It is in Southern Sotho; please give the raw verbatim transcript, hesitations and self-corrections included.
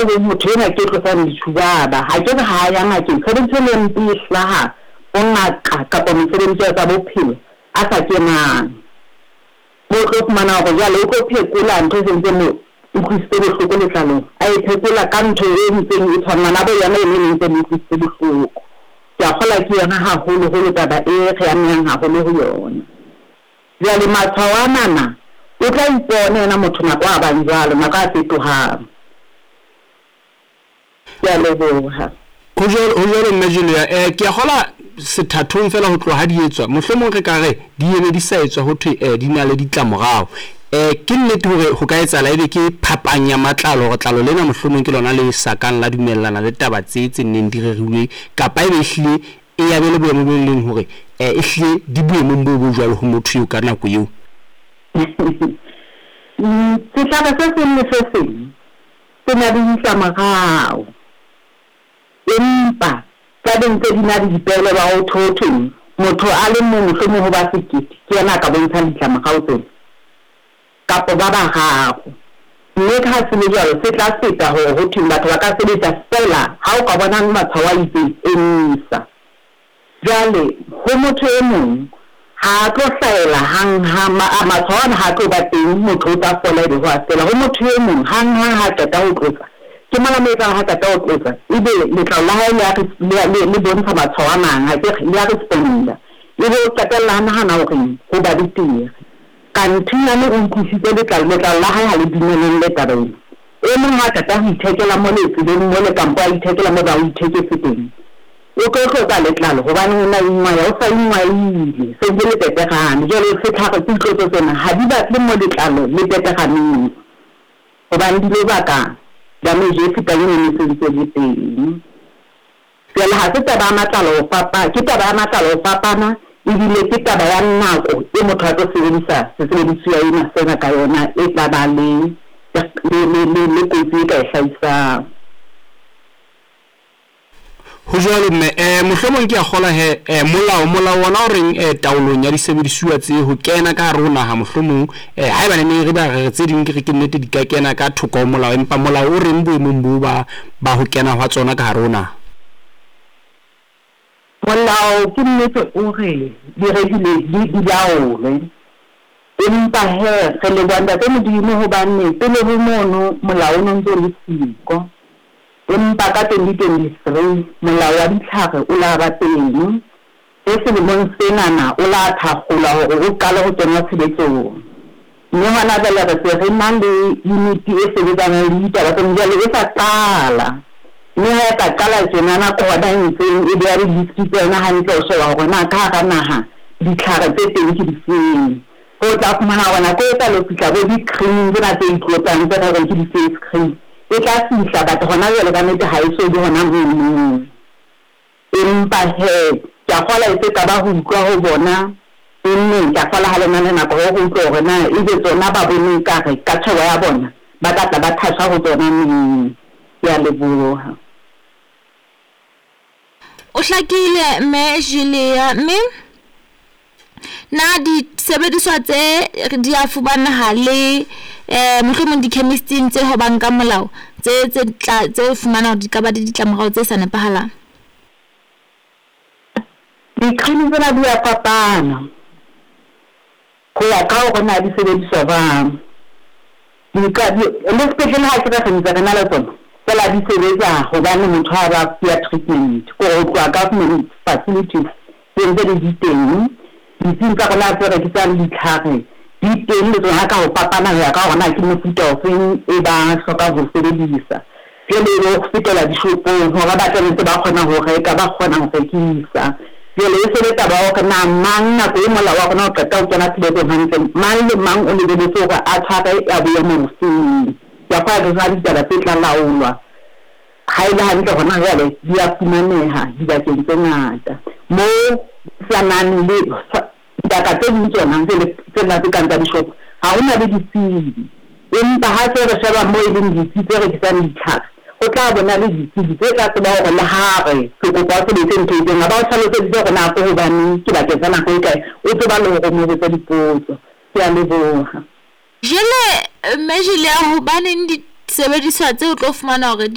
Motho enwa ke tlosang ditjhubaba, ha ke re ha ya ngakeng. Tshebediso e mpe e hlaha ho ngaka kapa mosebetsi wa tsa bophelo a sa kenang. Mo tlo fumana hore jwale o tlo phekola ntho e sentse mo utlwisitse bohloko letlalong, a e phekola ka ntho e ntseng e tshwanang bo yona eno e ntse mo utlwisitse bohloko. Ke a kgolwa ke yona haholoholo taba e re amehang haholo ho yona. Jwale matshwao anana o tla ipona yena motho nako a bang jwalo, nako a fetohang. Ke a leboha. Ho jwalo, ho jwalo mme Julia. Eh, ke a kgola sethathong fela ho tloha ha di etswa, mohlomong re ka re di ene di sa etswa ho thwe eh, di na le ditlamorao. Eh, ke nnete hore ho ka etsahala ebe ke phapang ya matlalo, hore tlalo lena mohlomong ke lona le sa kang la dumellana le taba tse tse neng di rerilwe, kapa ebe ehlile e ya be le boemo bo leng hore eh, ehlile di boemong bo bo jwalo ho motho eo ka nako eo. Sehlare se seng le se seng se na le ditlamorao, empa tla be ntse di na le dipehelo ba ho ho thweng motho a le mong mohlomong ho ba sekete ke yena a ka bontshang ditlamorao tsena kapa ba bararo. Mme ha se le jwalo se tla feta hore ho thweng batho ba ka sebetsa fela ha o ka bona matshwao a itseng, emisa. Jwale ho motho e mong ha a tlo hlahela hang-hang, matshwao ana ha tlo ba teng, motho o tla fola ebe ho a fela. Ho motho e mong hang-hang ha qeta ho tlotsa, ke mona mo etsang ha qeta ho tlotsa ebe letlalo la hae le le le bontsha matshwao a mang, ha ke re le a responda, ebe o qetella a nahana hore ho ba betere. Kanthe nyane o utlwisitse letlalo, letlalo la hae ha le dumellane le taba ena. E mong ha qeta ho ithekela mole tseleng mole kampo a ithekela moo ba o itheketse teng, o tlo tlotsa letlalo hobane o na ingwaya, o sa ingwaile, se ntse le petegane. Jwale setlhare ditlotso tsena ha di batle mo letlalo le peteganeng, hobane di lo baka damage e fetang eno e sentse le teng. Jwale ha se taba ya matlalo ho fapana, ke taba ya matlalo ho fapana, ebile ke taba ya nako e motho a tlo sebedisa sesebedisuwa ena sena ka yona e tla ba le le le le kotsi e ka e hlahisang. Ho jwalo mme, eh, mohlomong ke a kgola he, eh, molao molao wona o reng eh, taolong ya disebedisuwa tse ho kena ka hare ho naha mohlomong, eh, haeba ne ne re ba re tse ding ke re ke nnete di ka kena ka thoko ho molao, empa molao o reng boemong bo ba ba ho kena hwa tsona ka hare ho naha? Molao ke nnete o re di regulate, di di laolwe, empa he re leboha Ntate Modimo hobane pele ho mono molao o no ntso le siko. Empa ka twenty twenty-three molao wa ditlhare o la ba teng, e selemong senana o la thakgolwa hore o qale ho kenngwa tshebetsong. Mme hona jwale re se re na le unit e sebetsanang le ditaba tsena, jwale e sa qala. Mme ha e ka qala tjenana ke hona e ntseng e beha di-list tsa yona hantle ho sheba hore na ka hara naha ditlhare tse teng ke difeng. Ho tla fumana hore nako e tla lo fihla bo di-cream tsena tse itlotsang tse re reng ke di-face cream, e tla fihla, but hona jwale ka nnete ha e so be hona mono. Empa he ke a kgolwa e se ka ba ho utlwa ho bona neng, ke a kgolwa ha le na le nako hore re utlwe hore na ebe tsona ba bone ekare ka tjhebo ya bona ba tla tla ba thasha ho tsona neng. Ke a leboha. O hlakile mme Julia, mme na disebediswa tse di a fumaneha le eh mohlomong di-chemist-ing tse hobang ka molao tse tse tla tse fumana hore di ka ba le ditlamorao tse sa nepahalang? Di-cream tsena di a fapana ho ya ka hore na di sebediswa jwang. Di ka di le sepetlele ha ke re re ntse re na le tsona, fela di sebetsa hobane motho ha ba fuwa treatment, kore ho tloha government facilities tse ntse di di teng. Ditsing tsa rona tse rekisang ditlhare di teng le tsona ka ho fapana ho ya ka hore na ke mofuta ofeng e ba hlokang ho sebedisa. Jwale ebe ho fetela dishopong hore ba tla ntse ba kgona ho reka, ba kgona ho rekisa. Jwale e se le taba ya hore na mang nako e molao wa rona o qeta ho kena tshebetsong hantle, mang le mang o lebelletse hore a tshware ya boemo bofeng. Ke a kgolwa ke tsona ditaba tse tla laolwa. Ha e le hantle hona jwale di a fumaneha dibakeng tse ngata moo sa nang le dibaka tse ding tsona tsena tse kang tsa dishopo ha hona le ditsebi. Empa ha se re sheba moo e leng ditsi tse rekisang ditlhare, ho tla bona le ditsebi tse tla tseba hore le ha re ke kopa o sebetse ntho e itseng, ha ba o hlaloseditse hore na ke hobaneng, ke bakeng sa nako e kae, o tseba le hore o mo botse dipotso. Ke a leboha. Jwale mme Julia, hobaneng disebediswa tse o tlo fumana hore